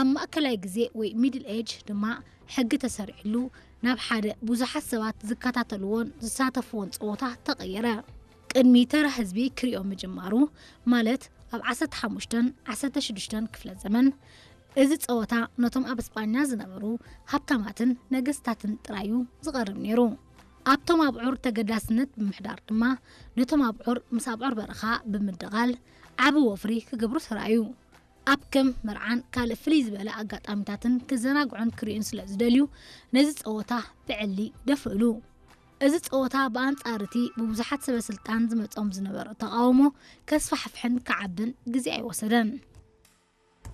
ኣብ ማእከላይ ግዜ ወይ ሚድል ኤጅ ድማ ሕጊ ተሰሪዕሉ ናብ ሓደ ብዙሓት ሰባት ዝከታተልዎን ዝሳተፍዎን ጸወታ ተቐየረ። ቅድሚ ተራ ህዝቢ ክሪኦ ምጅማሩ፣ ማለት ኣብ ዓሰርተ ሓሙሽተን ዓሰርተ ሽዱሽተን ክፍለ ዘመን፣ እዚ ጸወታ ነቶም ኣብ እስጳኛ ዝነበሩ ሃብታማትን ነገስታትን ጥራዩ ዝቐርብ ነይሩ። ኣብቶም ኣብዑር ተገዳስነት ብምሕዳር ድማ፣ ነቶም ኣብዑር ምስ ኣብዑር በረኻ ብምድቓል ዓቢ ወፍሪ ክገብሩ ተራእዩ። ኣብ ከም መርዓን ካልእ ፍልይ ዝበለ ኣጋጣሚታትን ክዘናግዑን ክርእዩን ስለ ዝደልዩ፣ ነዚ ጸወታ ብዕሊ ደፍእሉ። እዚ ጸወታ ብኣንጻር እቲ ብብዙሓት ሰበ ስልጣን ዝመጾም ዝነበረ ተቓውሞ ከስፋሕፍሕን ክዓብን ግዜ ኣይወሰደን።